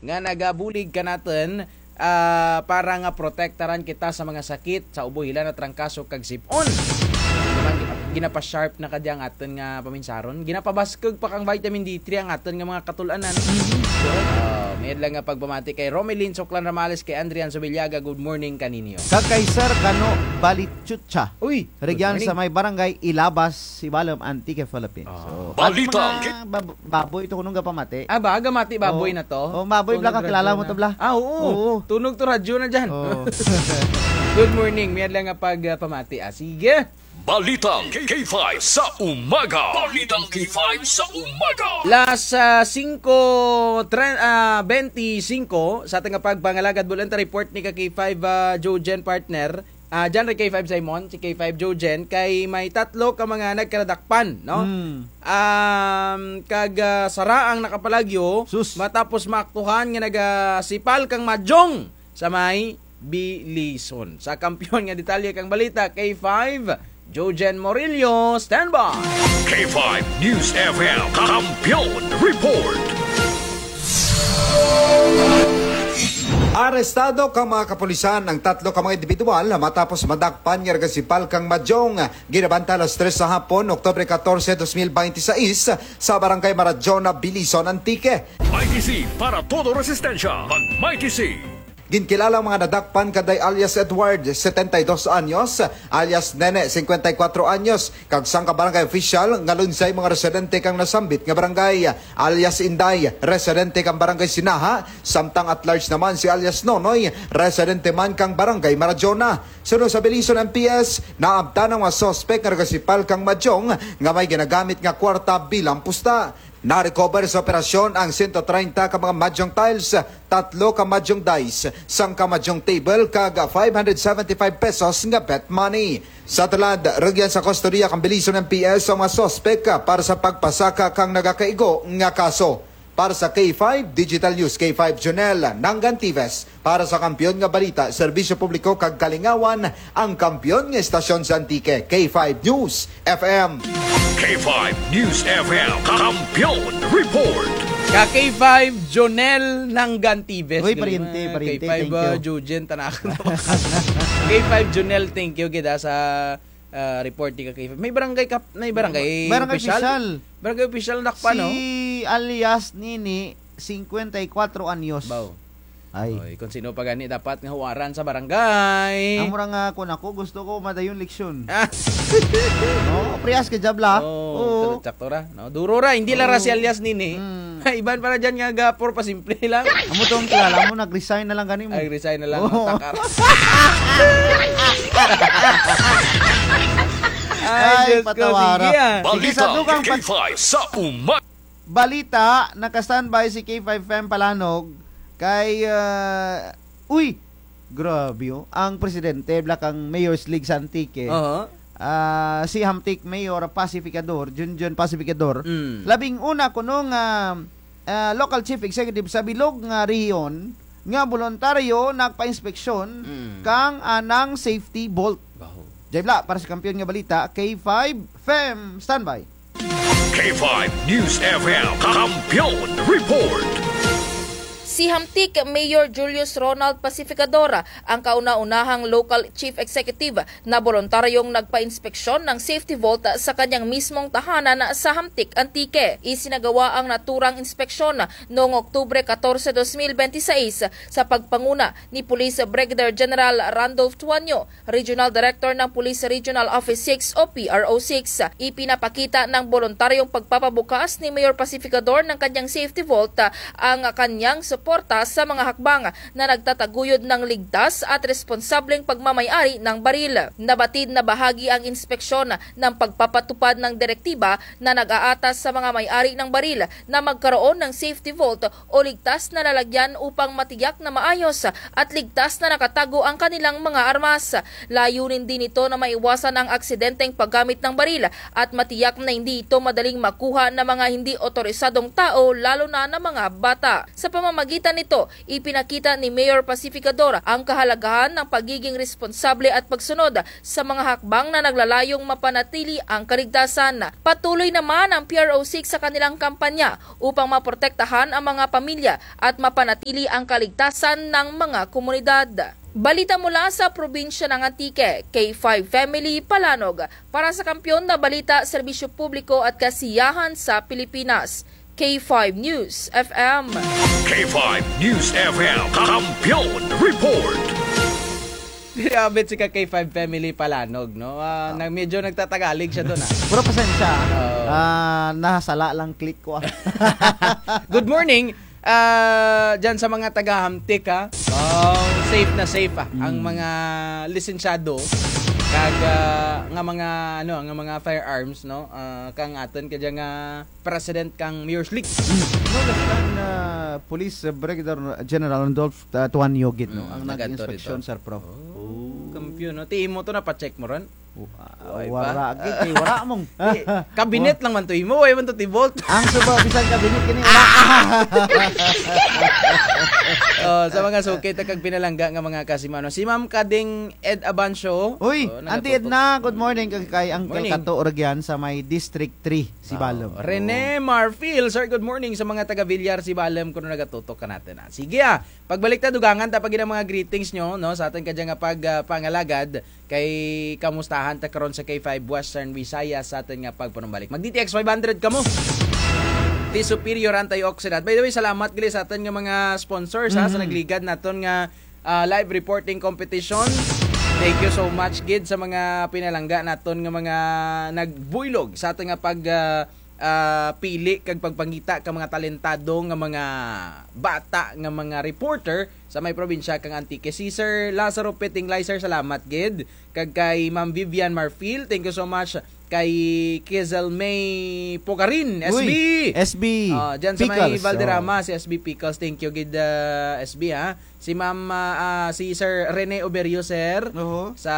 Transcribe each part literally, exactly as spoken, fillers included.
nga nagabulig kanatun, ah, para nga protektaran kita sa mga sakit, sa ubo, hilanat, trangkaso kag sip-on. Di ba, gina-, ginapa-sharp na kadya ang atun nga paminsaron. Ginapabaskug pa kang vitamin D three ang atun nga mga katul-anan. Oh, mayad lang nga pagpamati kay Romelin Soklan Ramales, kay Andrian Subiliaga, good morning kaninyo. Kag kay Sir Kano Balichucha. Uy, good morning. Rugyan sa may Barangay Ilabas, Sibalom, Antique, Philippines. Ah. So, Balita. At mga bab-, baboy to kunong gapamati. Ah, ba, gamati baboy na to? Oh, baboy, bla, kakilala mo to, bla? Ah, oo. Oo. Tunog to radyo na dyan. Oo. Good morning. Mayad lang nga pag, ah, pamati, ah. Sige. Balitang K five sa umaga. Balitang K five sa umaga. Las, ah, singko, tre-, ah, bente singko, sa atun nga pagpangalagad, bulan ta report ni ka K five, ah, Jojen, partner. Ah, dyan ri K five Simon, si K five Jojen, kay may tatlo ka mga nagkaradakpan, no? Hmm. Um, kag, ah, sara ang nakapalagyo, sus, matapos maaktuhan nga nagasipal kang madyong sa may Bilison. Sa kampiyon nga detalye kang balita, K five, Jojen Morillo, standby. K five News F M, Kampiyon Report. Arestado kang mga kapulisan ang tatlo ka mga indibidwal matapos madakpan nga nagasipal kang madyong. Ginabanta alas tres sa hapon, Oktubre katorse, dos mil bente sais, sa Barangay Marajona, Bilison, Antique. Mikey C para todo resistensya. Mag Mikey C. Ginkilala ang mga nadakpan kaday alias Edward, setenta y dos anyos, alias Nene, singkwenta y kwatro anyos, kag sangka barangay opisyal nga lunsay mga residente kang nasambit nga barangay, alias Inday, residente kang barangay Sinaha, samtang at large naman si alias Nonoy, residente man kang barangay Marajona. Sunod sa Bilison M P S, naabtan ang mga suspek nga nagasipal kang madyong nga may ginagamit nga kwarta bilang pusta. Na-recover sa operasyon ang sento treinta ka mga madyong tiles, tatlo ka madyong dice, sangka madyong table, kag five hundred seventy-five pesos nga bet money. Sa tulad, rugyan sa kustodiya kang Bilison M P S ang mga suspek para sa pagpasaka kang nagakaigo nga kaso. Para sa K five Digital News, K five Jonel Nangantives. Para sa Kampiyon nga Balita, Serbisyo Publiko kag Kalingawan, ang kampiyon nga estasyon sa Antique, K five News F M. K five News F M, Kampiyon Report. Ka K five Jonel Nangantives. Uy, galing, pariente, ah, pariente, K five, thank you. Ah, Jojen, tanakan. K five Jonel, thank you gid sa, ah, report ni ka K five. May barangay kap-, may barangay opisyal? Barangay opisyal. Barangay opisyal, dakpan, no? Si alias Nini, singkwenta y kwatro anyos. Baw. Ay. Oy, kon sin-o pa gani dapat nga huwaran sa barangay. Amo ra nga kon ako, gusto ko madayon eleksyon. Ah. No, parehas ka dya bala. Oh, oo. Sakto ra, no? Duro ra, hindi lang ra si alias Nini. Mm. Iban pa ra dyan nga gapuro pa simple lang. Amo tong kilala mo, nag-resign na lang gani mo. Ay, resign na lang, oo, takar. Ay, Diyos ko, patawa ra. Sige, ah. Sige, sa dugang Balita K five sa umaga. Balita, naka-standby si K five Fem Palanog kay, ah, uy, grabe, oh. Ang presidente bala kang Mayor's League sa Antique. Aha. Ah, si Hamtic Mayor Pacificador, Junjun Pacificador. Mm. Labing una kuno nga, ah, local chief executive sa bilog nga rehiyon nga boluntaryo nagpa-inspeksyon, mm, kang anang safety vault. Baho. Dya bala, para sa Kampiyon nga Balita, K five Fem, standby. K five News F M, Kampiyon Report. Si Hamtic Mayor Julius Ronald Pacificador ang kauna-unahang local chief executive na boluntaryong nagpa-inspeksyon ng safety vault sa kanyang mismong tahanan sa Hamtic, Antique. Isinagawa ang naturang inspeksyon noong Oktubre katorse, dos mil bente y seis sa pagpanguna ni Police Brigadier General Randolph Tuanyo, Regional Director ng Police Regional Office six o P R O six. Ipinapakita ng boluntaryong pagpapabukas ni Mayor Pacificador ng kanyang safety vault, ah, ang kanyang suporta sa mga hakbang na nagtataguyod ng ligtas at responsableng pagmamay-ari ng baril. Nabatid na bahagi ang inspeksyon ng pagpapatupad ng direktiba na nag-aatas sa mga may-ari ng baril na magkaroon ng safety vault o ligtas na lalagyan upang matiyak na maayos at ligtas na nakatago ang kanilang mga armas. Layunin din nito na maiwasan ang aksidenteng paggamit ng baril at matiyak na hindi ito madaling makuha ng mga hindi otorisadong tao, lalo na ng mga bata. Sa pamamagitan Kita nito, ipinakita ni Mayor Pacificador ang kahalagahan ng pagiging responsable at pagsunod sa mga hakbang na naglalayong mapanatili ang kaligtasan. Patuloy naman ang P R O six sa kanilang kampanya upang maprotektahan ang mga pamilya at mapanatili ang kaligtasan ng mga komunidad. Balita mula sa probinsya ng Antique, K five Family Palanog. Para sa Kampiyon na Balita, Serbisyo Publiko at Kasiyahan sa Pilipinas, K five News F M. K five News F M, Kampiyon Report. Diri abot si ka K five Family Palanog, no? Ah, nag-, medyo nagtatagalig siya dun, ah. Pero pasensya, ah. Oo. Ah, nasala lang click ko, ah. Good morning. Ah, dyan sa mga taga-Hamtic, ha? Oh, safe na safe, ah. Ang mga lisensyado, kag, ah, nga mga, ano, nga mga firearms, no? Ah, kang atun kadya nga president kang Mayor's League. No, that's done, ah, Police, ah, Brigadier General Randolph, ah, Tuanyo gid, no? Ang nag-inspeksyon, Sir Pro. Oh, kampiyon, no? Ti imo to, napa-check mo ron? Wa-, wara gid, eh, wara mong. Eh, kabinet lang man to imo, way man to ti vault. Ang suba, bisan kabinet kini, wara. Oh, sa mga suki ta kag pinalangga nga mga kasimano. Si Ma'am Kading Ed Abancio. Uy, Auntie Edna, good morning. Kag kay Uncle Kato Orgian sa may District three, Sibalom. Rene Marfil, sir, good morning sa mga taga Villar, Sibalom, kuno nagatutok kanatun, ah. Sige, ah. Pagbalik ta, dugangan ta pa gid ang mga greetings nyo, no, sa atun kadya nga pag, ah, pangalagad. Kay kamustahan ta karon sa K five Western Visayas sa atun nga pagpanumbalik. Mag-D T X five hundred kamo. Ti Superior Antioxidant. By the way, salamat gali sa atun nga mga sponsors, ha, sa nagligad natun nga, ah, live reporting competition. Thank you so much gid sa mga pinalangga natun nga mga nagbuylog sa atun nga pag, ah, ah, pili kag pagpangita ka mga talentado nga mga bata nga mga reporter sa may probinsya kang Antique. Si Sir Lazaro Petinglay, sir, salamat gid. Kag kay Ma'am Vivian Marfil, thank you so much. Kay Kizel May Pugarin, S B. Uy, S B. Ah, dyan sa may Pickles, Valderrama, oh. Si S B Pickles, thank you gid, ah, S B, ha. Si Ma'am, ah, ah, si Sir Rene Oberio, sir. Oho. Sa,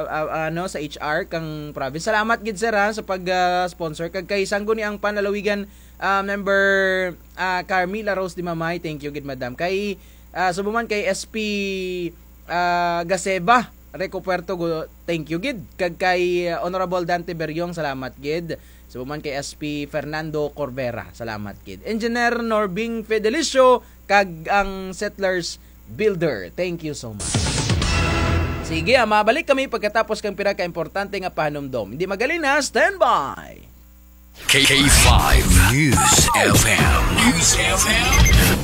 ah, ano, sa H R kang province. Salamat gid, sir, ha, sa pag, ah, sponsor. Kag kay Sangguniang Panlalawigan, ah, member, ah, Carmila Rose Dimamay, thank you gid, madam. Kay, ah, subo man kay S P, ah, Gaseba, Rico Puerto, gu-, thank you gid. Kag kay, ah, Honorable Dante Beriong, salamat gid. Subo man kay S P Fernando Corvera, salamat gid. Engineer Norbing Fedelicio, kag ang Settlers Builder. Thank you so much. Sige, ah, mabalik kami pagkatapos kang pira ka importante nga pahanumdom. Hindi magalina, standby. K five News F M. News F M.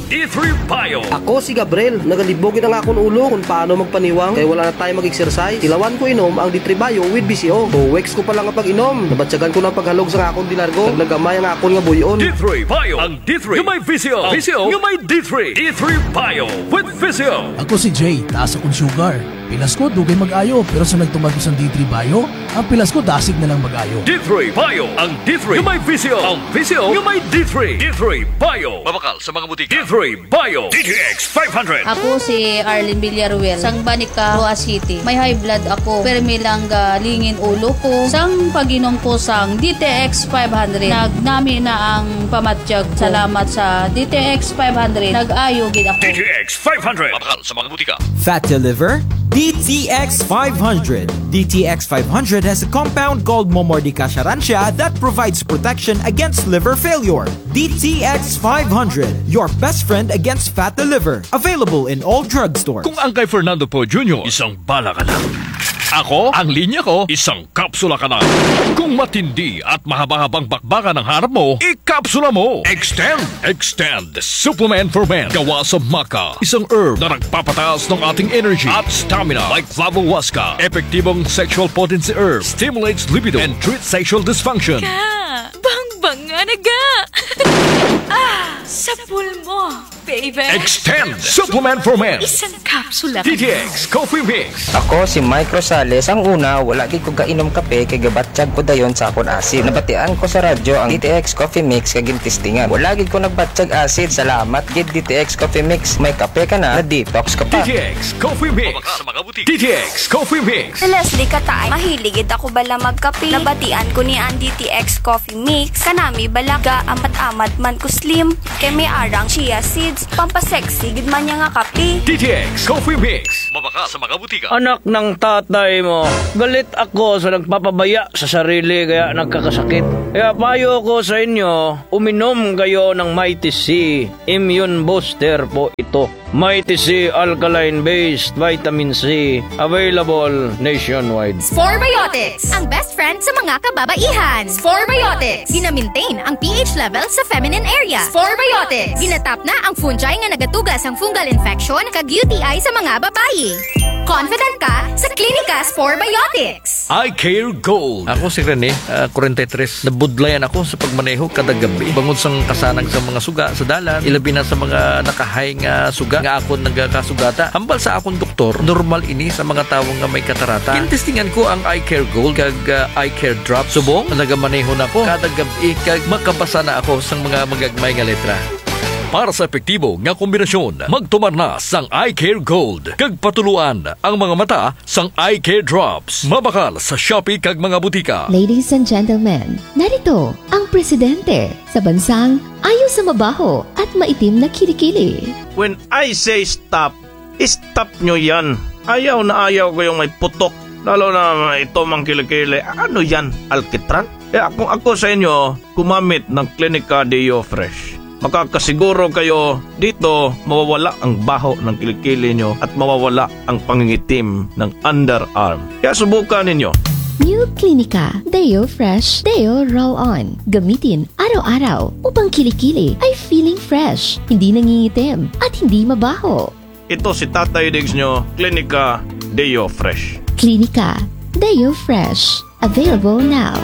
D three Bio. Ako si Gabriel. Nagalibog gid ang akon ulo kon paano magpaniwang kay wala na time mag-exercise. Tilawan ko inom ang D three Bio with V C O. Two weeks ko pa lang nga pag-inom, nabatyagan ko na ang paghalog sa akon delargo. Kag nagamay ang akon nga buy-on. D three Bio. Ang D three nga may V C O. V C O nga may D three. D three Bio with V C O. Ako si Jay, taas akon sugar. Pilas ko, dugay mag-ayo, pero sa nagtuman ko sang D three Bio, ang pilas ko dasig na lang mag-ayo. D three Bio, ang D three nga may V C O. Ang V C O nga may D three. D three Bio. Mabakal sa mga butika. D three Bio. D T X five hundred. Ako si Arlene Villaruel, sang Banica, Roxas City. May high blood ako, permi lang galingin ulo ko. Sang pag-inom ko sang D T X five hundred, nagnami na ang pamatyag ko. Salamat sa D T X five hundred, nag-ayo gid ako. D T X five hundred. Mabakal sa mga butika. Fat to liver? D T X five hundred. D T X five hundred has a compound called Momordica charantia that provides protection against liver failure. D T X five hundred, your best friend against fat to liver. Available in all drugstores. Kung ang kay Fernando Poe Junior, isang bala ka lang. Ako, ang linya ko, isang kapsula ka lang. Kung matindi at mahaba-habang bakbakan ang harap mo, ikapsula mo. Extend. Extend Supplement for Men. Gawa sa maca, isang herb na nagpapataas ng ating energy at stamina, like flavohuasca. Epektibong sexual potency herb, stimulates libido and treats sexual dysfunction. Ka, bangbanga na ga. Ah, sapul mo, baby. Extend Supplement for Men. Isang kapsula ka lang. D T X Coffee Mix. Ako si Mike Rosales. Ang una, wala gid ko gainom kape kay gabatyag ko dayon sa akon asid. Nabatian ko sa radyo ang D T X Coffee Mix kag gintestingan. Wala gid ko nagbatyag asid. Salamat gid D T X Coffee Mix. May kape ka na, na-detox ka pa. D T X Coffee Mix. Sa mga butika. D T X Coffee Mix. Si Leslie Kataay, mahilig gid ako bala magkape. Nabatian ko ni ang D T X Coffee Mix. Kanami bala, gaamat-amat man ko slim. Kay may arang chia seed. Pampasexy gid man dya nga kape. D T X Coffee Mix. Mabakal sa mga butika. Anak ng tatay mo, galit ako sa nagpapabaya sa sarili kaya nagkakasakit. Kaya payo ko sa inyo, uminom kayo ng Mighty C. Immune booster po ito. Mighty C alkaline-based vitamin C, available nationwide. Sporebiotics, ang best friend sa mga kababaihan. Sporebiotics, gina-maintain ang P H level sa feminine area. Sporebiotics, ginatap na ang fungi nga nagatuga sang fungal infection kag U T I sa mga babayi. Confident ka sa Clinica Sporebiotics. Eye Care Gold. Ako si Rene, ah, kwarenta y tres. Nabudlayan ako sa pagmaneho kada gab-i. Bangod sang kasanag sa mga suga sa dalan, ilabi na sa mga nakahay nga suga nga akon nagakasugata. Hambal sa akon doktor, normal ini sa mga tawo nga may katarata. Gintestingan ko ang Eye Care Gold kag, ah, Eye Care Drop. Subong, nagamaneho na ako kada gab-i kag makabasa na ako sang mga magagmay nga letra. Para sa epektibo nga kombinasyon, magtumar na sang Eye Care Gold kag patuloan ang mga mata sang Eye Care Drops. Mabakal sa Shopee kag mga butika. Ladies and gentlemen, narito ang presidente sa bansang ayaw sa mabaho at maitim na kilikili. When I say stop, stop nyo yan. Ayaw na ayaw ko yung may putok. Lalo na ito mang kilikili. Ano yan? Alkitran? Kaya kung ako sa inyo, gumamit ng Clinica Deo Fresh. Makakasiguro kayo dito mawawala ang baho ng kilikili nyo at mawawala ang pangingitim ng underarm. Kaya subukan ninyo. New Clinica Deo Fresh Deo Roll On. Gamitin araw-araw upang kilikili ay feeling fresh, hindi nangingitim, at hindi mabaho. Ito si Tatay Diggs nyo, Clinica Deo Fresh. Clinica Deo Fresh. Available now.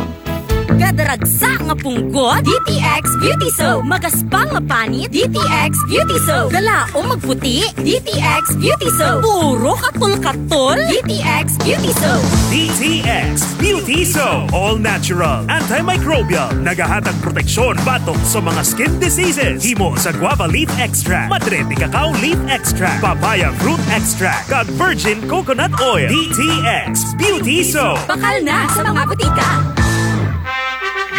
Kada ragsa nga punggot, D T X Beauty Soap. Magaspang nga panit, D T X Beauty Soap. Galaom magputi, D T X Beauty Soap. Puro katol-katol, D T X Beauty Soap. D T X Beauty Soap. All natural, antimicrobial. Nagahatag proteksyon batok sa mga skin diseases. Himo sa guava leaf extract, madre de cacao leaf extract, papaya fruit extract, kag virgin coconut oil. D T X Beauty Soap. Bakal na sa mga butika.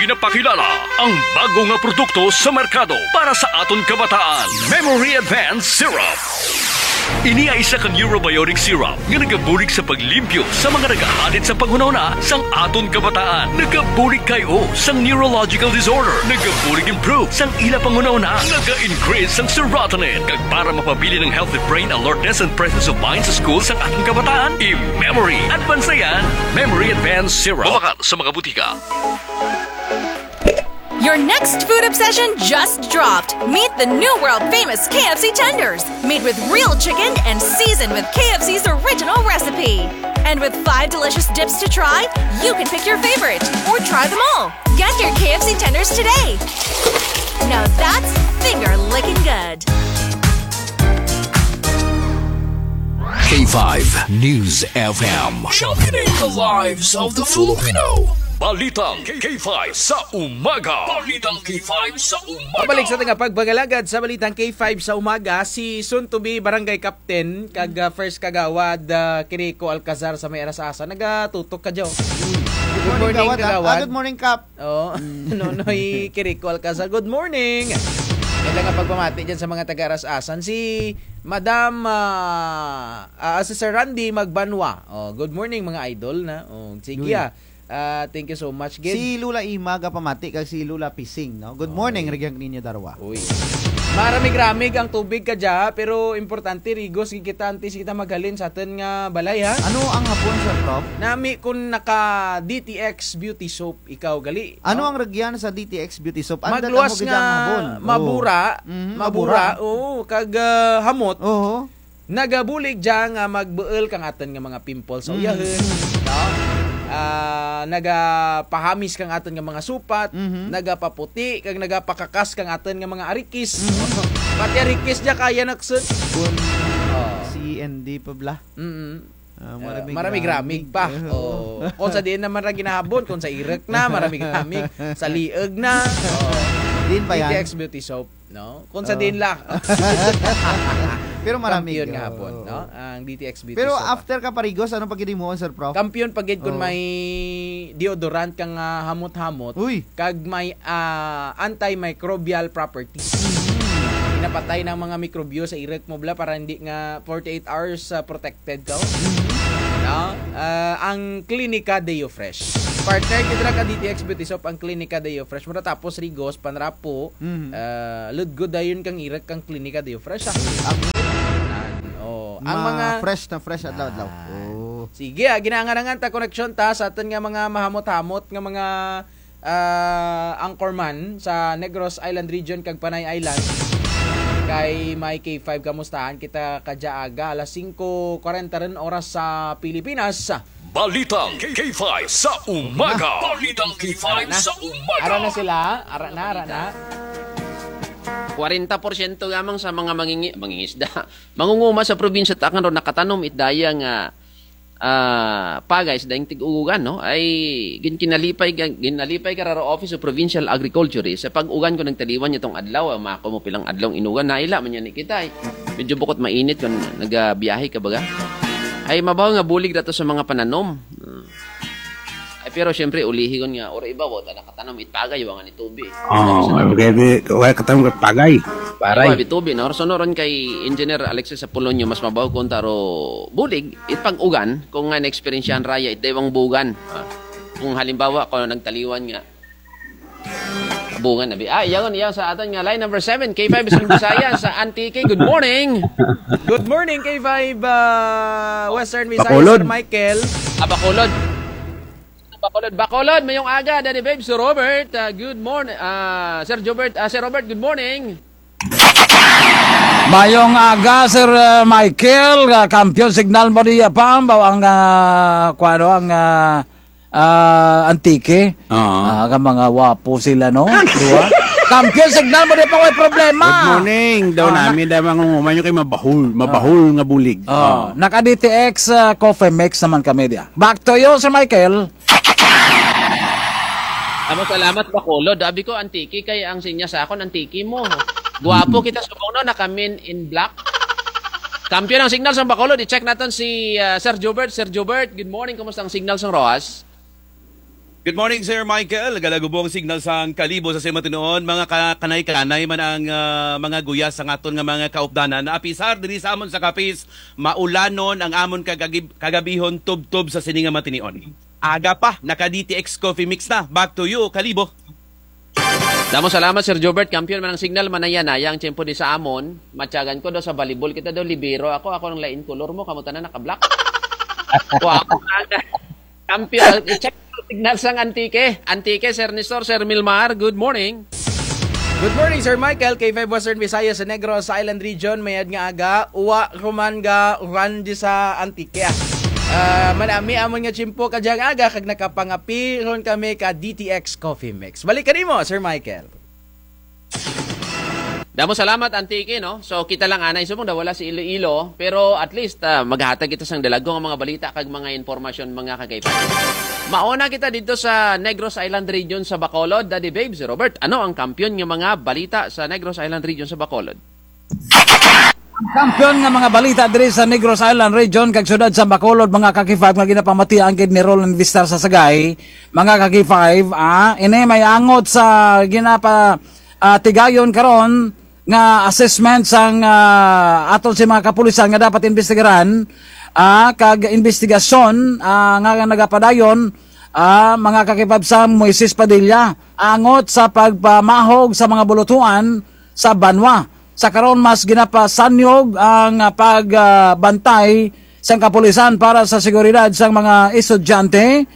Ginapakilala ang bago nga produkto sa merkado para sa aton kabataan. Memory Advance Syrup. Ini ay isa ka neurobiotic syrup nga nagabulig sa paglimpyo sa mga nagahalit sa panghunahuna sang aton kabataan. Nagabulig kay o sang neurological disorder. Nagabulig improve sang ila panghunahuna. Naga-increase sang serotonin. Kag para mapabilin ang healthy brain alertness and presence of mind sa school sang aton kabataan, i-Memory Advance na yan. Memory Advance Syrup. Mabakal sa mga butika. Your next food obsession just dropped. Meet the new world famous K F C tenders, made with real chicken and seasoned with K F C's original recipe. And with five delicious dips to try, you can pick your favorite or try them all. Get your K F C tenders today. Now that's finger licking good. K five News F M. Championing the lives of the Filipino. Balitang K five sa umaga. Balitang K five sa umaga. Pabalik sa aton nga pagpangalagad sa Balitang K five sa umaga, si soon to be Barangay Captain, kag, ah, First Kagawad, ah, Kirico Alcazar sa may Aras-asan. Nagatutok ka, Joe. Good morning, Kagawad, ah. Ah, good morning, Kap. Oh, Nonoy Kirico Alcazar, good morning. Kailangan pagpamati dyan sa mga taga Aras-asan. Si Madam, ah, ah, si Sir Randy Magbanwa. Oh, good morning, mga idol na. Oh, sige, ah. Ah, thank you so much, gid. Si Lola Ima gapamati kag si Lola Pising, no? Good morning, Reg Niño Darwa. Uy. Maramig-ramig ang tubig kadya, pero importante, rigos gid kita antes kita maghalin sa atun nga balay, ha? Ano ang hapon, Sir Prof? Nami kun naka D T X Beauty Soap ikaw gali. Ano ang rugyan sa D T X Beauty Soap? Anda tamo gid ang habon. Magluwas nga mabura, mabura, oo, kag, ah, hamot. Oo. Nagabulig dya nga magbuul kang atun nga mga pimples sa uyahun, no? Ah, nagapahamis kang atun nga mga supat, nagapaputi, kag nagapakakas kang atun nga mga arikis. Pati arikis dya kaya naksut. Kun C N D pa bala. Mm. Ah, maramig-ramig pa. Oo. Kun sa diin na man ra ginahabon, kun sa irek na, maramig-ramig, sa lieg na. Oo. Diin pa yan? D T X Beauty Soap, no? Kun sa diin la. Pero maramig. Kampiyon nga habon, no? Ang D T X Beauty Soap. Pero after ka parigos, ano pa gid himuon, Sir Prof? Kampiyon pa gid kun may deodorant kang, ah, hamot-hamot. Uy. Kag may, ah, antimicrobial properties. napatay na ang mga mikrobyo sa irek mo bala para hindi nga forty-eight hours, ah, protected ka. No? Ah, ang Klinika Deo Fresh. Partner, kita ra ka D T X Beauty Shop ang Klinika Deo Fresh. Mura tapos rigos, panrapo, ah, lugod dayon kang irek kang Klinika Deo Fresh, ah. Ang, oh, ang mga fresh na fresh adlaw-adlaw. Oh. Sige, ah, ginaangarangan ta koneksyon ta sa atun nga mga mahamot-hamot nga mga, ah, anchorman sa Negros Island Region kag Panay Island. Kay may K five, kamustahan kita kadya aga, alas singko kwarenta run oras sa Pilipinas. Balitang K five sa umaga. Balitang K five sa umaga. Ara na sila, ara na, ara na. Kwarenta porsyento lamang sa mga mangingi-, mangingisda, mangunguma sa probinsya ta Tacna ro nakatanom it daya nga, ah, pagay sa daing tig-ugugan, no? Ay, gin-, kinalipay ka, ginalipay ka ra ro Office of Provincial Agriculture, eh. Sa pag-ugan ko nagtaliwan niya tong adlaw, ah, mako mo pilang adlaw inugan, naila man yan ni kita, eh. Medyo bukut mainit kon nagabiyahe ka baga. Ay, mabaw nga bulig dato sa mga pananom. Hmm. Ay, pero siyempre, ulihi kon nga, oro iba, wata nakatanom it pagay, wala nga ni tubi. Oh, kaya di, wala katanom it pagay. Paray. Wala ni tubi, no? So, no, ron kay Engineer Alexis Apolonio, mas mabaw kon taro bulig, it pag-ugan, kon nga na-eksperyensyahan raya, it daywang bugan. Ah, kon halimbawa, kon nagtaliwan nga, bugan na bi. Ah, iyagon, iyagon sa atun nga line number seven, K five Western Visayas, sa Antique. Good morning. Good morning, K five, ah, Western Visayas, Bacolod. Sir Michael. Ah, Bacolod. Bacolod, Bacolod, mayong aga, Daddy Babe, Sir Robert. Ah, good morning. Ah, Sir Jobert, ah, Sir Robert, good morning. Mayong aga, Sir, ah, Michael. Ah, kampiyon signal mo diya pa, baw ang, ah, kuwano ang, ah, ah, Antique. Oo. Ah, ka mga wapo sila, no? Duwa. Kampiyon signal mo diya pa, may problema. Good morning. Daw nami, daw mangunguma nyo kay mabahul. Mabahul nga bulig. Oh, naka-D T X, ah, coffee mix naman kami diya. Back to you, Sir Michael. Amo, salamat, Bacolod. Abi ko, Antique, kay ang sinya sa akon, Antique mo. Guwapo kita subong, no? Naka-men in black. Kampiyon ang signal sa Bacolod. I-check natun si, ah, Sir Jobert. Sir Jobert, good morning. Kumusta ang signal sa Roxas? Good morning, Sir Michael. Galagubong signal sang Kalibo sa Sima Tinoon. Mga ka-, kanay-kanay man ang, ah, mga guyas sang atun nga mga kaupdanan. Apisar diri sa amun sa Capiz, maulanon ang amun kagagib-, kagabihon tubtob sa sini nga mga tinion. Aga pa, naka-D T X Coffee Mix na. Back to you, Kalibo. Damo salamat, Sir Jobert. Kampiyon man ang signal, manaya-naya ang tiyempo di sa amun. Matyagan ko daw sa volleyball kita daw, libero ako. Ako ang lain kolor mo, kamo tanan naka-black. Wow. Kampiyon, i-check ang signal sang Antique. Antique, Sir Nestor, Sir Milmar, good morning. Good morning, Sir Michael. K five Western Visayas sa Negros Island Region, mayad nga aga, uwa ruman ga uran di sa Antique. Ah, manami amun nga tiyempo kadyang aga, kag nakapangapi run kami ka D T X Coffee Mix. Balik kanimo, Sir Michael. Damo salamat, Antique, no? So, kita lang anay subong daw wala si Iloilo, pero at least, ah, maghatag kita sang dalagko nga mga balita kag mga impormasyon, mga ka-K five. Mauna kita didto sa Negros Island Region sa Bacolod, Daddy Babes, Robert. Ano ang kampiyon nga mga balita sa Negros Island Region sa Bacolod? Ang kampiyon nga mga balita diri sa Negros Island Region kag siyudad sa Bacolod, mga ka-K five, nga ginapamatian gid ni Roland Vistar sa Sagay, mga ka-K five, ah, ini may angot sa ginapa-, ah, tigayon karon nga assessment sang, ah, aton si mga kapulisan nga dapat imbestigaran, ah, kag imbestigasyon, ah, nga nagapadayon, ah, mga ka-K five, sang Moises Padilla, angot sa pagpamahog sa mga bulutuan sa banwa. Sa karon, mas ginapasanyog ang, ah, pag, ah, bantay sang kapulisan para sa seguridad sang mga estudyante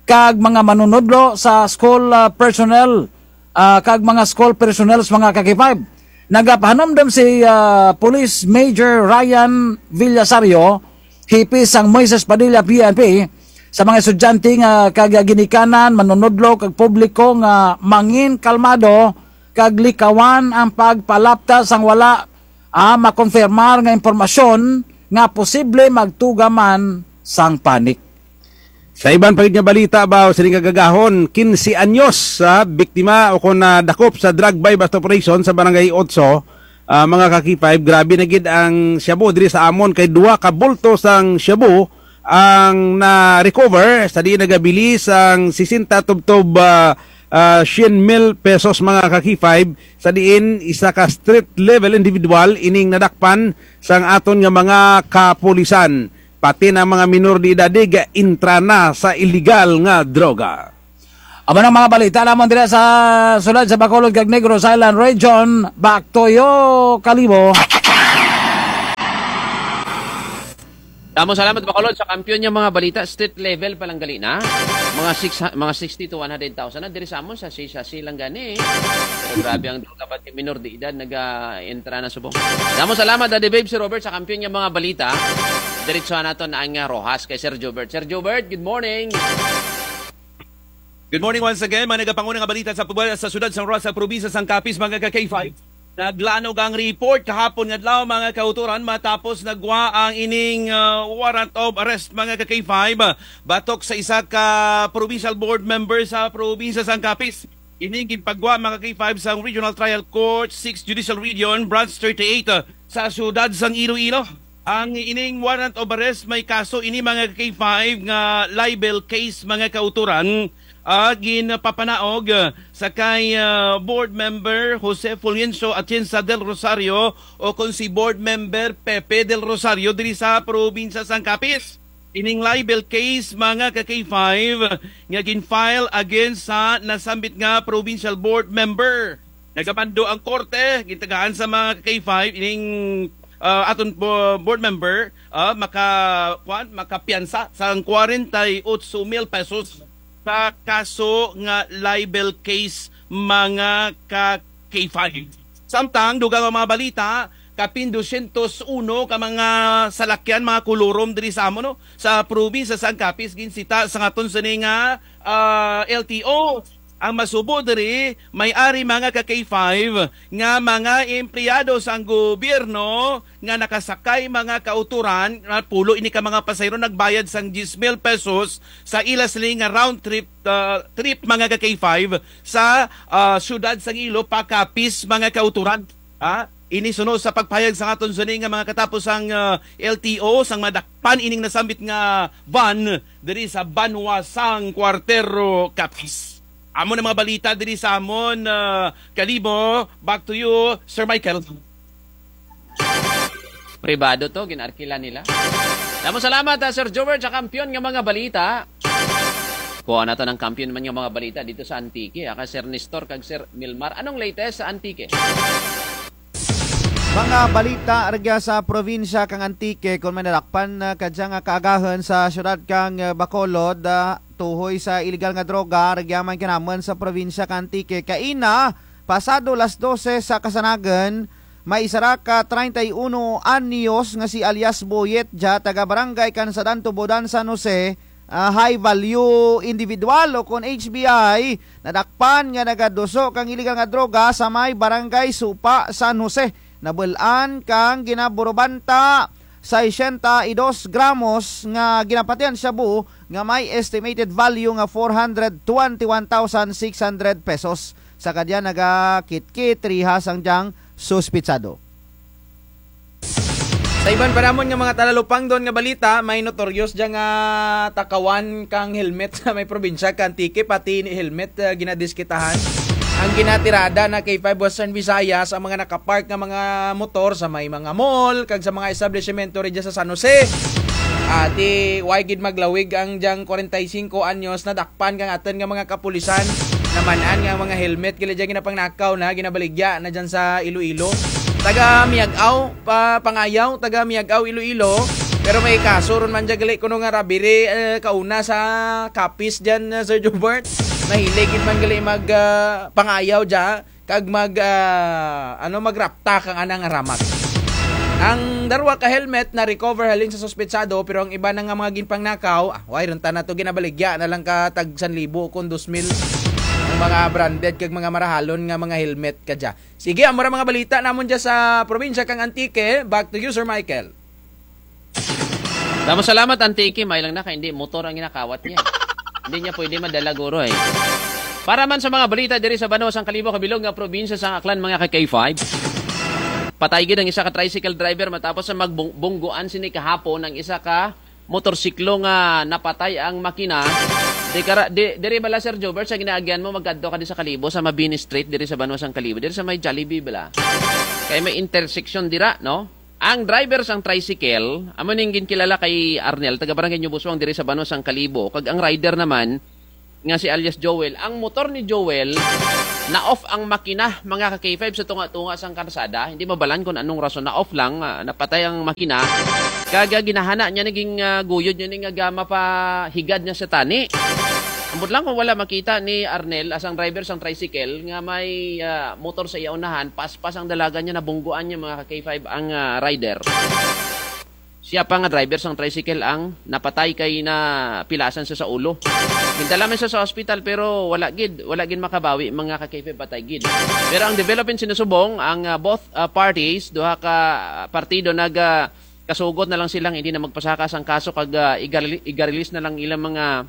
kag mga manunudlo sa school, ah, personnel, ah, kag mga school personnel sa mga ka-K five. Nagapahanumdum si, ah, Police Major Ryan Villasario, hepe sang Moises Padilla P N P, sa mga estudyante nga kag ginikanan, manunudlo kag publiko nga mangin kalmado kag likawan ang pagpalapta sang wala, ah, makonfirmar nga impormasyon nga posible magtuga man sang panic. Sa iban pa gid nga balita, baw, sining kaagahon, kinse anyos sa biktima o kon nadakop sa drug buy-bust operation sa Barangay Otso, ah, mga ka-K five, grabe na gid ang shabu diri sa amun kay duha ka bulto sang shabu ang na-recover sa diin nagabili sang sesenta tubtob, ah, ah, syen mil pesos, mga ka-K five, sa diin isa ka street level individual ining nadakpan sang aton nga mga kapulisan. Pati na mga minor de edad, eh, gaentra na sa iligal nga droga. Amo na ang mga balita lamang diri sa syudad sa Bacolod kag Negros Island Region. Back to you, Kalibo. Damo salamat, Bacolod, sa kampiyon nga mga balita. Street level pa lang gali na. Mga six, mga sixty to one hundred thousand na diri sa amon, sa sachet lang gani. Pero grabe ang droga, pati minor de edad naga-entra na subong. Damo salamat, Daddy Babe, Sir Robert, sa kampiyon nga mga balita. Diretso na to na ang, ah, Roxas kay Sir Jobert. Sir Jobert, good morning. Good morning once again, mga nagapanguna nga balita sa pagwala sa syudad sang Roxas, probinsya sang Capiz, mga ka-K five. Naglanog ang report kahapon nga adlaw, mga kauturan, matapos nagwa ang ining, ah, warrant of arrest, mga ka-K five, batok sa isa ka provincial board member sa probinsya sang Capiz. Ining ginpagwa, mga ka-K five, sang Regional Trial Court, Sixth Judicial Region, Branch thirty-eight, ah, sa syudad sang Iloilo. Ang ining warrant of arrest, may kaso ini, mga ka-K five, nga libel case, mga kauturan, ah, ginpapanaog, ah, sa kay, ah, board member Jose Fulgencio Atienza del Rosario o kon si board member Pepe del Rosario diri sa probinsya sang Capiz. Ining libel case, mga ka-K five, nga gin-file against sa nasambit nga provincial board member. Nagamando ang korte, gintagaan sa mga ka-K five, ining, ah, aton bo-, board member, ah, maka-, kwan, makapiyansa sang kwarenta y otso mil pesos sa kaso nga libel case, mga ka-K five. Samtang, dugang ang mga balita, kapin dosyentos uno ka mga salakyan, mga kolorum diri sa amon, no? Sa probinsya sang Capiz, ginsita sang aton sini nga, ah, L T O. Ang masubo diri, may ari, mga ka-K five, nga mga empleyado sang gobyerno nga nakasakay, mga kauturan, nga pulo ini ka mga pasahero nagbayad sang diyes mil pesos sa ila sini nga round trip, ah, trip, mga ka-K five, sa, ah, syudad sang Ilo pa Capiz, mga kauturan. Ha? Ini sunod sa pagpahayag sang aton sini nga mga katapusang, ah, L T O, sang madakpan ining nasambit nga van diri sa banwa sang Cuartero, Capiz. Amo na mga balita diri sa amon, ah, Kalibo. Back to you, Sir Michael. Pribado to, gin-arkila nila. Damo salamat, ah, Sir Jobert, sa kampiyon nga mga balita. Kuha naton ang kampiyon man nga mga balita didto sa Antique, ah, kay Sir Nestor kag Sir Milmar. Anong latest sa Antique? Mga balita rugya sa probinsya kang Antique, kon may nadakpan, ah, kadya nga kaagahun sa syudad kang, ah, Bacolod, ah, tuhoy sa iligal nga droga, rugya man kanamun sa probinsya kang Antique. Kaina, pasado las dose sa kasanagan, may isara ka treinta y uno anyos nga si alias Boyet dya, taga Barangay Kansadan, Tubodan, San Jose, ah, high value individual o kon H V I, nadakpan nga nagaduso kang iligal nga droga sa may Barangay Supa, San Jose. Nabul-an kang ginaburubanta sesenta y dos gramos nga ginapatian shabu nga may estimated value nga four hundred twenty-one thousand six hundred pesos. Sa kadya nagakitkit riha sang dyang suspitsado. Sa iban pa namon nga mga talalupangdon nga balita, may notorious dya nga takawan kang helmet sa may probinsya kang Antique, pati ini helmet, ah, ginadiskitahan. Ang ginatirada na kay Five Western Visayas ang mga nakapark nga mga motor sa may mga mall kag sa mga establisimento rugya sa San Jose. Ati, way gid maglawig ang dyang kwarenta y singko anyos, nadakpan kang atun nga mga kapulisan. Naman-an nga ang mga helmet gali dya ginapangnakaw na, ginabaligya na dyan sa Iloilo. Taga Miag-ao, pa, Pangayaw, taga Miag-ao, Iloilo. Pero may kaso run man dya gali kuno nga robbery, eh, kauna sa Capiz dyan, eh, Sir Jobert. Mahilig gid man gali mag, ah, pangayaw dya kag mag, ah, ano, magrapta kang ana nga ramag. Ang darwa ka helmet na-recover halin sa suspitsado, pero ang iba na nga mga ginpangnakaw, ah, way run tana to, ginabaligya na lang ka tag san libo kon dos mil ang mga branded kag mga marahalon nga mga helmet kadya. Sige, amo ra mga balita namon dya sa probinsya kang Antique. Back to you, Sir Michael. Damo salamat, Antique. May lang na kay indi motor ang ginakawat niya. Hindi niya pwede madala guro, eh. Para man sa mga balita diri sa banwa sang Kalibo kabilog nga probinsya sang Aklan, mga ka-K five. Patay gid ang isa ka tricycle driver matapos sa magbung-, bungguan sini kahapon ang isa ka motorsiklo nga napatay ang makina Di kara, di, diri bala, Sir Jobert, sa ginaagyan mo, magkadto ka di sa Kalibo, sa Mabini Street, diri sa banwa sang Kalibo, diri sa may Jollibee bala. Kay may intersection dira, no? Ang driver sang tricycle, amo ning ginkilala kay Arnel, taga Barangay New Busuang, diri sa banwa sang Kalibo. Kag ang rider naman, nga si alias Joel, ang motor ni Joel, na-off ang makina, mga ka-K five, sa tunga-tunga sang karsada. Hindi mabalaan kung anong rason, na-off lang, ah, napatay ang makina. Kag ginahana niya, naging, ah, guyod niya ni nga mapahigad niya sa tani. Ambot lang kung wala makita ni Arnel, asang driver sang tricycle, nga may, ah, motor sa iya unahan, paspas ang dalagan niya, nabungguan niya, mga ka-K five, ang, ah, rider. Siya pa nga driver sang tricycle ang napatay kay napilasan siya sa ulo. Gindala man siya sa ospital pero wala gid, wala gid makabawi, mga ka-K five, patay gid. Pero ang development sinusubong, ang, ah, both, ah, parties, duha ka, ah, partido nag, ah, kasugot na lang silang hindi na magpasaka sang kaso kag, ah, igareli-, igarelease na lang ilang mga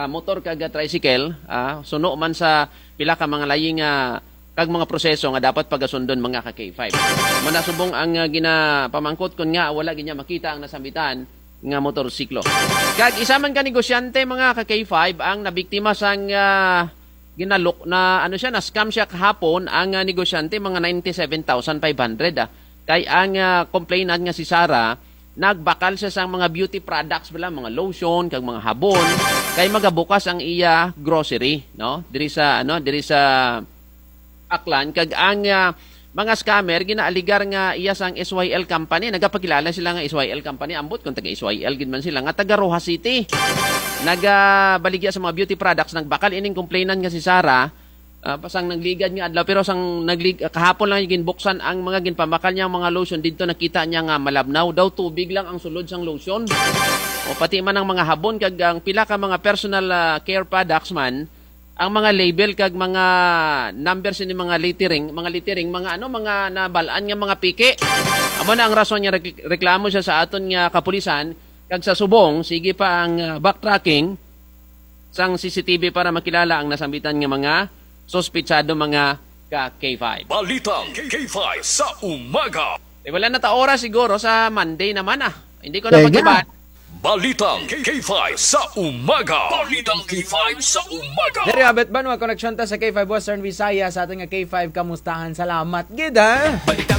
ah, motor kag, ah, tricycle, ah, suno man sa pila ka mga layi nga kag mga proseso nga dapat pagasundon, mga ka-K five. Manasubong ang, ah, ginapamangkot kon ngaa wala gid niya makita ang nasambitan nga motorsiklo. Kag isa man ka negosyante, mga ka-K five, ang nabiktima sang, ah, ginalok na, ano siya, na-scam siya kahapon, ang, ah, negosyante, mga ninety-seven thousand five hundred, ah. Kay ang, ah, complainant nga si Sarah, nagbakal siya sang mga beauty products bala, mga lotion, kag mga habon, kay magabukas ang iya grocery, no? Diri sa, ano, diri sa Aklan, kag ang, ah, mga scammer, ginaaligar nga iya sang S Y L company, nagapakilala sila nga S Y L company, ambot kon taga S Y L gid man sila, nga taga Roxas City. Nagabaligya sa mga beauty products, nagbakal ining complainant nga si Sarah, ah, sang nagligad nga adlaw, pero sang naglig-, ah, kahapon lang ginbuksan ang mga ginpabakal niyang mga lotion, didto nakita niya nga malabnaw daw, tubig lang ang sulod sang lotion. O pati man ang mga habon, kag ang pila ka mga personal, ah, care products man, ang mga label kag mga number sini mga lettering, mga lettering, mga ano, mga nabal-an nga mga peke. Amo na ang rason nga rek-, reklamo siya sa aton nga kapulisan, kag sa subong, sige pa ang, ah, backtracking sang C C T V para makilala ang nasambitan nga mga suspetsado, mga ka-K five. Balitang K five sa umaga. Eh, wala na ta oras siguro sa Monday naman, ah. Hindi ko na pag-iba. Balitang K five sa umaga. Balitang K five sa umaga. Diri, abet banwa, koneksyon ta sa K five Western Visayas, sa aton nga K five Kamustahan. Salamat gid, ha?